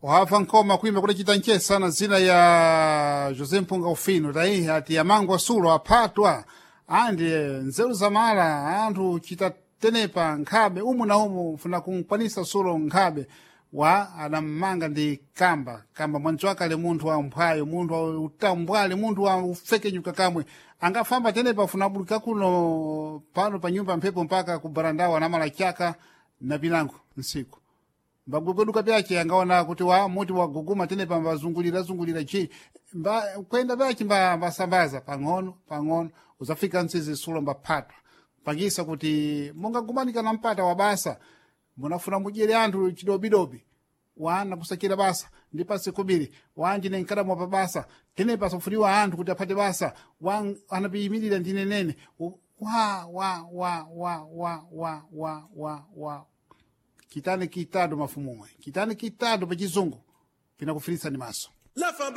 Wafa nkoma kuimba kudacita nchesana zina ya José Mpunga Ufino taihi ati amangu asulo aphatwa andi nzeru zamala anthu chita tenepa nkhabe umu na umu funa kunkwanisa sulo nkhabe wa adammanga ndi kamba kamba mwanzi wake ali munthu wa mphwayo, munthu wa utambwali, munthu wa ufekenyuka kamwe angafamba tenepa afuna abuluka kuno pano pa nyumba mphepo mpaka ku barandawo anamala chaka na pinango nsiku mbagwegweduka pyace angaona kuti wa muti waguguma tenepa mbazungulira zungulira chi mba kwenda pyace mba mbasambaza pang'ono pang'ono uzafika ntsizi sulo mbaphatwa pangisa kuti mungagumanika na mpata wa basa munafuna mudyere anthu chidobidobi wana kusakira basa ndi pasi kubiri wanji nenkadamwa pa basa tenepa asafuniwa anthu kuti aphate basa wa anapiyimirira ndinenene wa wa wa wa wa wa wa wa wa kitani kitado mafumumwe kitani kitado pachizungu pinakufiritsa ni maso. Lafa.